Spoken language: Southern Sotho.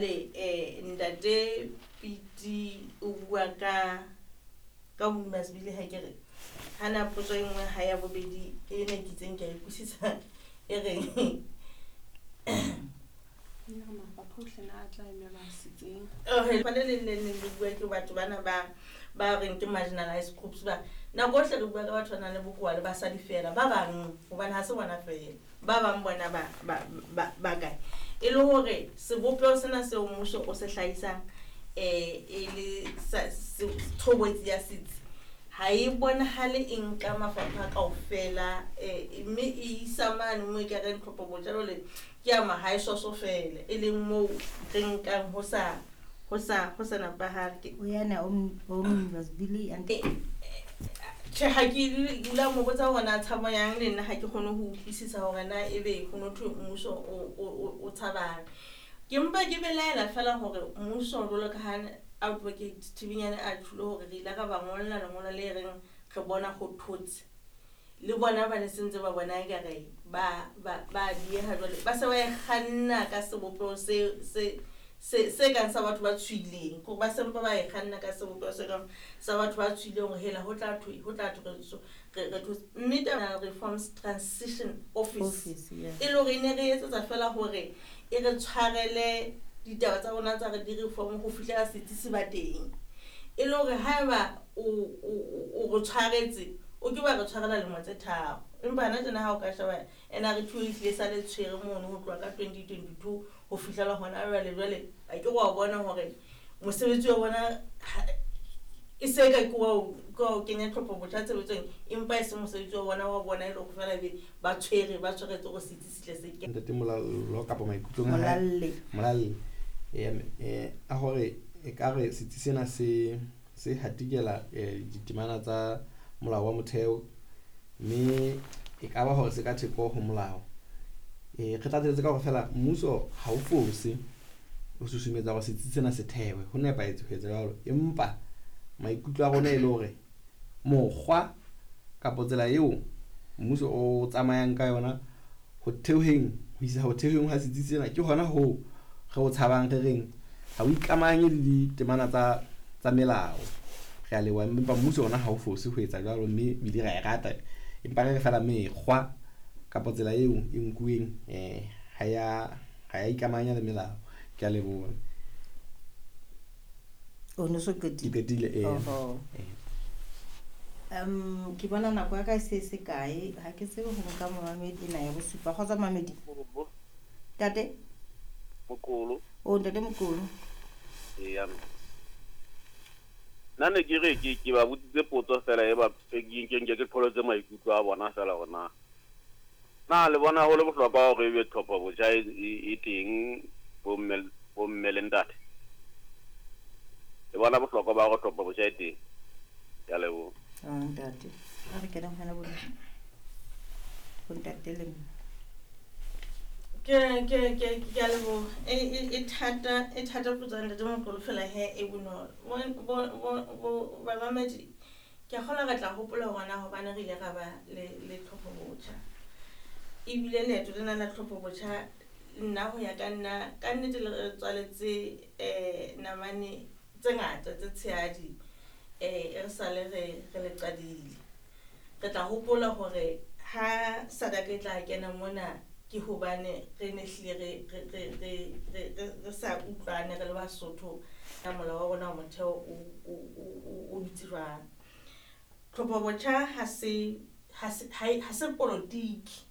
Le ntate Piti o bua ka ka Masibili ha ke re hana potso e nngwe ha ya bobedi e ne ke itseng ke a e utlwisisa e reng. Le leng le leng le bua ke batho bana ba ba reng ke marginalized groups ba nako ohle re bua ka batho ba nang le bokowa le basadi fela ba bang hobane ha se bona fela ba bang bona ba ba ba ba kae e le hore sebopeho sena seo mmuso o se hlahisang e le tshobotsi ya setsi ha e bonahale e nka mafapha kaofela mme e isa mane moo e ka reng tlhopho botjha jwale ke ya mahae soso fela e leng moo re nkang ho sa ho sa ho sa nepahale ke Uyana omnibus bili and Tjhe, ha ke dula mo botsa hore na tshabo yang le nna ha ke kgone ho utlwisisa hore na ebe ho no thwe mmuso o tshabang. Ke mpa ke belaela fela hore mmuso jwalo ka ha Advocate Thibinyane a tjholo hore re ile ra ba ngolla lengolo le reng re bona ho thotse. Le bona ba ne se ntse ba bona ekare ba ba ba dieha jwale ba se ba e kganna ka sebopeho se se se se kang sa batho ba tshohileng kore ba se mpa ba e kganna ka sebopeho se kang sa batho ba tshohileng hore hela ho tla thwe ho tla thwe re re thotse. Mme taba Reforms Transition Office Office, yeah. e le hore e ne re etsetsa fela hore e re tshwarele ditaba tsa rona tsa re di-reform ho fihlela setsi se ba teng. E le hore haeba o re tshwaretse o ke wa re tshwarela lemo tse tharo. Empa hana tjena ha o ka sheba NRT e hlile sa le tshwere mono ho tloha ka 2022 ho fihlela hona jwale jwale a ke wa bona hore mosebetsi wa bona e se ka ke wa ke wa kenya tlhopho botjha tshebetsong empa e se mosebetsi wa bona wa bona e le hore fela be ba tshwere ba tshwaretse hore setsi se tle se ke. Ntate Molallo kapa maikutlong a hae. Molalle. Molalle. A hore e ka re setsi sena se se hatikela ditemana tsa molao wa motheo mme e ka ba hore se ka theko ho molao. Re tlatseletse ka hore fela mmuso ha o fose ho susumetsa hore setsi sena se thewe, ho nepahetse ho etsa jwalo, empa maikutlo a rona e le hore mokgwa kapa tsela eo mmuso o tsamayang ka yona ho theoheng ho isa ho theoheng ha setsi sena ke hona hoo re o tshabang re reng ha o ikamahanye le ditemana tsa tsa melao. Re a leboha, empa mmuso ona ha o fose ho etsa jwalo mme ebile ra e rata, empa re re fela mekgwa kapa tsela eo e nkuweng ha ya ha ya ikamahanya le melao. Ke a leboha. O no so qetile? Ke qetile, ee. Oho. Ke bona nako ya ka e se se kae, ha ke tsebe ho nka momamedi ena ya bosupa. Kgotsa momamedi? Ntate? Mokolo. O ntate Mokolo. Eya. Nna ne ke re ke ba botsitse potso fela e ba ke nke ke qholotse maikutlo a bona fela hore na na le bona ho le bohlokwa hore ebe tlhopho botjha e teng bomme le ntate. Le bona bohlokwa ba hore tlhopho botjha e teng. Ke a leboha. Ah, ntate. A re kene ho wena bo ntate le mme. Ke ke ke ke a leboha. E thata e thata potso ya ntate Mokolo fela he e bonolo. Bo bamamedi ke a kgolwa re tla hopola hore na hobane re ile ra ba le le tlhopho botjha. Ebile leeto lena la tlhopho botjha nna ho ya ka nna ka nnete le re tswaletse namane tse ngata tse tshehadi e re sale re re le qadile. Re tla hopola hore ha SADC e tla kena mona ke hobane re ne hlile re re re re re re sa utlwane re le Basotho ka molao wa rona wa motheo o dutse jwang. Tlhopho botjha ha se ha se ha se polotiki.